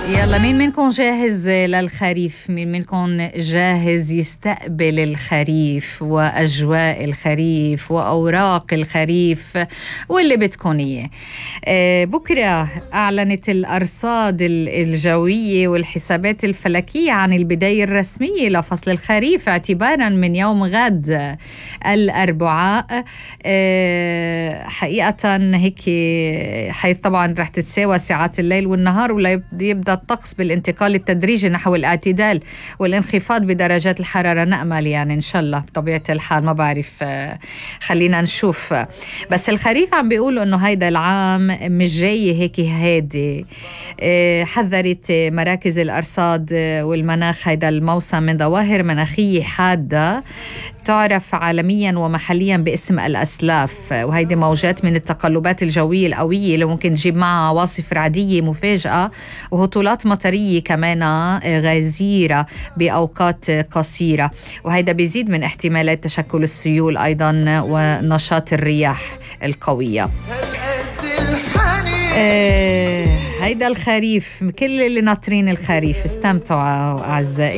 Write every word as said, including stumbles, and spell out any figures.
يلا، مين منكم جاهز للخريف؟ مين منكم جاهز يستقبل الخريف وأجواء الخريف وأوراق الخريف واللي بدكم إياه؟ آه بكرة أعلنت الأرصاد الجوية والحسابات الفلكية عن البداية الرسمية لفصل الخريف اعتبارا من يوم غد الأربعاء. آه حقيقة هيك حيث طبعا رح تتساوى ساعات الليل والنهار، ولا يبدأ الطقس بالانتقال التدريجي نحو الاعتدال والانخفاض بدرجات الحرارة، نأمل يعني إن شاء الله بطبيعة الحال، ما بعرف خلينا نشوف. بس الخريف عم بيقولوا إنه هيدا العام مش جاي هيك هادي. حذرت مراكز الأرصاد والمناخ هيدا الموسم من ظواهر مناخية حادة تعرف عالميا ومحليا باسم الأسلاف، وهيدي موجات من التقلبات الجوية القوية اللي ممكن تجيب معها عواصف رعدية مفاجئة وهطولات مطرية كمان غزيرة بأوقات قصيرة، وهيدا بيزيد من احتمالات تشكل السيول أيضا ونشاط الرياح القوية. آه هيدا الخريف، كل اللي ناطرين الخريف استمتعوا أعزائي.